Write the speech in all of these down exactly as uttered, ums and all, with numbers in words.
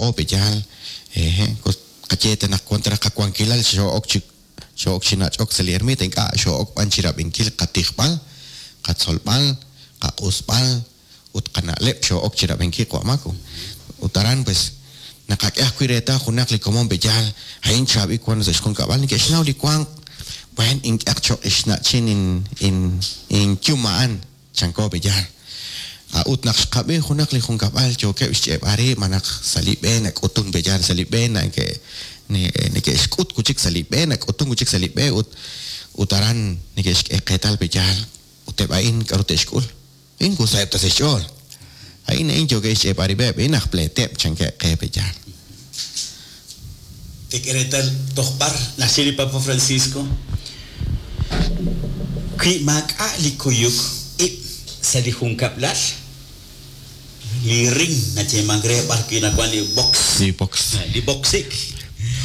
laa'o pe'yaal eje qayee naq wan ta raj qawankilal xoo'ok chi xoo'ok chi nach'ok sa' li ermita ink'a' xoo'ok b'an chirab'inkil qatijb'al qatzolb'al qaq'usb'al ut qana'leb' xoo'ok chirab'inkil qwa'maku ut aran pues naqak'e ajwi' reetal junaq li komon pe'yaal a'in chaab'il wan sa' xjunkab'al neke'xnaw li wank buen ink'aq choq' ixna'chin in in inyum a'an chanko pe'yaal ut naq xqab'i junaq li junkab'al yookeb' xch'eeb'al rib' malaj sa' li b'e nak'utun pe'yaal sa' li b'e nake neke'xk'ut kuchik sa' li b'e nak'utun kuchik sa' li b'e ut ut aran neke'xk'e qeetal pe'yaal ut eb' a'in k'aru te'xk'ul a'in kusaheb' ta sa' xch'ool a'in a'in yookeb' xch'eeb'al rib'eb' a'in aj pleeteb' chankeb' qe pe'yaal. Tek'e reetal toj b'ar naxye li Papa Francisco wi maak'a' li kuyuk ib' sa' li junkab'lal li ring nayeeman re b'ar wi nawan li box li box li boxik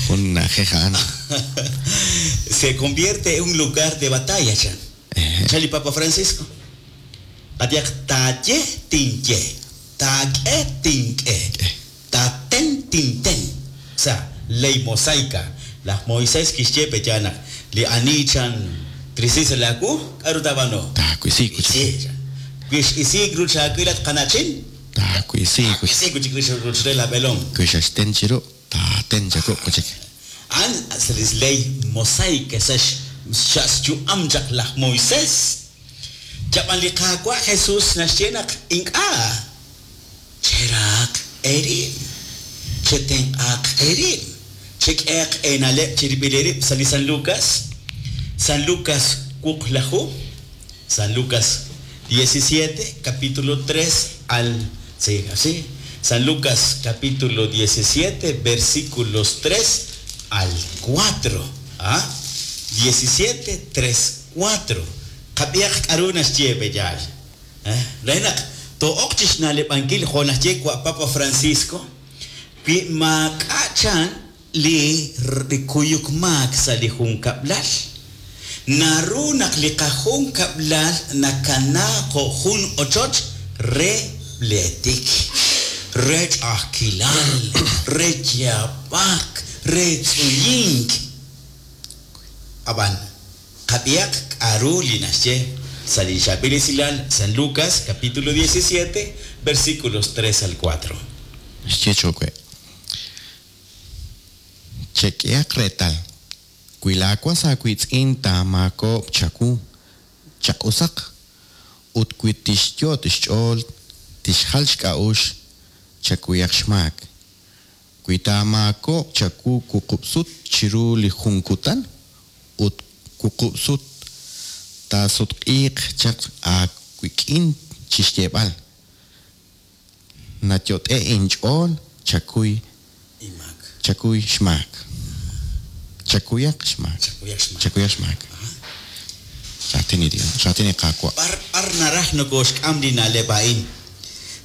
jun na'ajej a'an se convierte en un lugar de batalla chan chan li Papa Francisco qatiaq taaye tinye taak'e tink'e taaten tinten o sea ley mosaica laj Moisés kixye pe'yaal naq li ani chan trisi sa' laawu k'aru taab'aanu taawisi kuchik wi x'isiik ruch aawil at qana'chin taawisi taawisi kuchik ruch re la b'eelom wi xaxten chiru taaten chaku' kuchik a'an sa' li ley mosaica sa' xyu'am chaq laj Moisés chab'an li Qaawa' Jesús naxye naq ink'a' cheraaq eerib' chetenq'aaq eerib' chek'eaq eena'leb' chirib'il eerib' sa' li San Lucas San Lucas wuqlaju San Lucas diecisiete capítulo tres al sí, así San Lucas capítulo diecisiete versículos tres al cuatro ¿ah? diecisiete, tres, cuatro qab'ihaq k'aru naxye pe'yaal eh re naq to'oq chixna'leb'ankil jo' naxye wa Papa Francisco wi maak'a' chan li li kuyuk maak sa' li junkab'lal naru naq li qajunkab'lal nakanaa jo' jun ochoch re pleetik re ch'a'ajkilal re yaab'ak re tz'uyink ab'an qab'ihaq k'aru li naxye sa' li Chaab'il Esilal San Lucas capítulo diecisiete versículos tres al cuatro Naxye chowe chek'ehaq reetal wi laawas aawiitz'in taamaakoob' chawu chaq'usaq ut wi tixyot' xch'ool tixjal xk'a'uxl chakuyaq xmaak wi taamaakoob' chawu wuqub' sut chiru li jun kutan ut wuqub' sut taasutq'iiq chaq aawik'in chixyeeb'al nayot'e inch'ool chakuy Imaak chakuy xmaak chakuyaq xmaak chakuyaq xmaak chakuyaq xmaak raatin li Dios raatin li Qaawa' b'ar b'ar naraj nokoxk'am li na'leb' a'in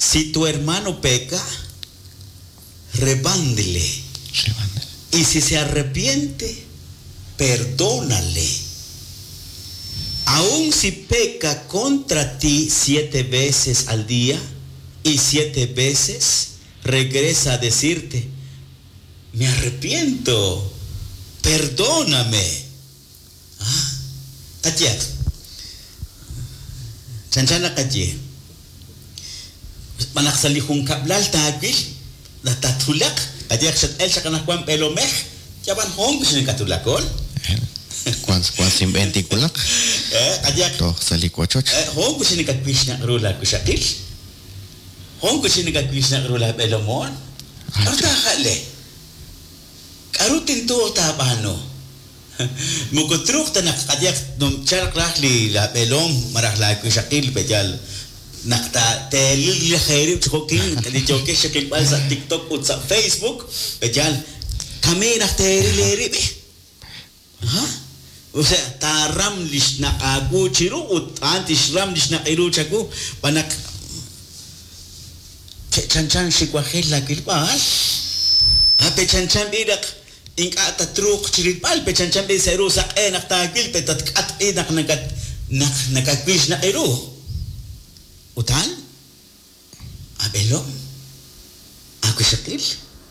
si tu hermano peca rebándele Rebándele. y si se arrepiente perdónale aun si peca contra ti siete veces al día y siete veces regresa a decirte me arrepiento perdóname ah qatiaq chanchan naqaye b'anaq sa' li junkab'lal taawil natatulaq qatiaq xat'el xaqanajwan b'eelomej yab'an jun xinakatulakol wan wan sinb'een tinwulaq eh qatiaq toj sa' li wochoch jun xinakatwixnaq ru laakuxaqil jun xinakatwixnaq ru laab'eelomon k'aru taaja'le k'aru tintuuq taab'aanu moko truuq ta naq qatiaq chalq raj li laab'eelom malaj laakuxaqil pe'yaal naq teelil li jeerib' chi jo'kin li yookeb' xaqilb'al sa' TikTok ut sa' Facebook pe'yaal kamee naq teeril eerib' ha o sea taaram li xnaq' aawu chiru ut a'an tixram li xnaq' iru chawu b'anaq chanchan xiwajel laawilb'al ah pechanchan b'i naq ink'a' tatruuq chirilb'al pechanchan b'i sa' ru saq'e naq taawil pe tatk'at b'i naq nakat naq nakawil xnaq' iru ut a'an ab'eelom aakuxaqil